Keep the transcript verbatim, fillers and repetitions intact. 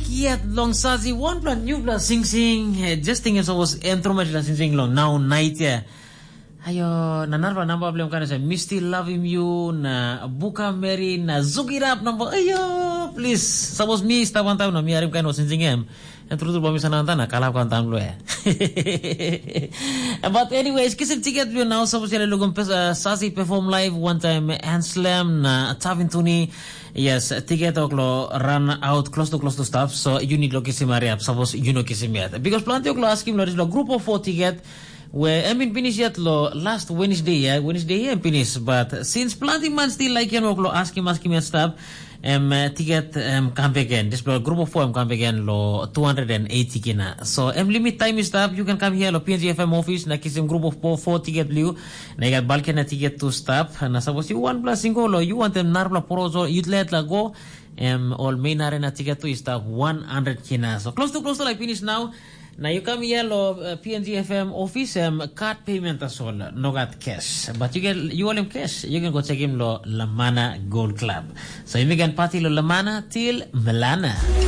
Yet long Sazi wanpela newpela singsing, eh, just tingim sapos em tromoi la singsing long nau nait ya. Ayo, na narapela namba bilong em kan se, mi still love him you, na buka meri, na zugirap namba. Ayo, please, sapos mi stap wantaim na mi harim kain ol singsing em. Em tru tru bai mi sanap wantaim na kalap wantaim lo ya. But anyways, kisim tiket bilong nau, sapos yale lukum pes, uh, Sazi perform live one time, Anslem na Tavin Tuni. Yes, tiket ok lo run out close to close to stuff. So you need lo kisim hurry up. Sapos you no kisim yet. Because planti ok lo askim lo dis lo group of four tiket. We em bin finish yet lo last Wednesday ya, Wednesday ya em finish. But since planti man still like em ok lo askim askim yet stuff. Em uh, tiket em kam again. This lo group of four em kam again lo two hundred eighty kina. So em limit time is up. You can come here lo P N G F M office na kisim group of four, four tiket liu. Na you got balkena tiket to stop. Na suppose you one plus single lo you want them narpla porozo you let la go. Em ol main arena tiket tu i stap one hundred kina. So close to close to like finish now. Na you come here lo uh, P N G F M office em card payment tasol, no got cash. But you get you all him cash. You can go check him lo Lamana Gold Club. So you can party lo Lamana till Milana.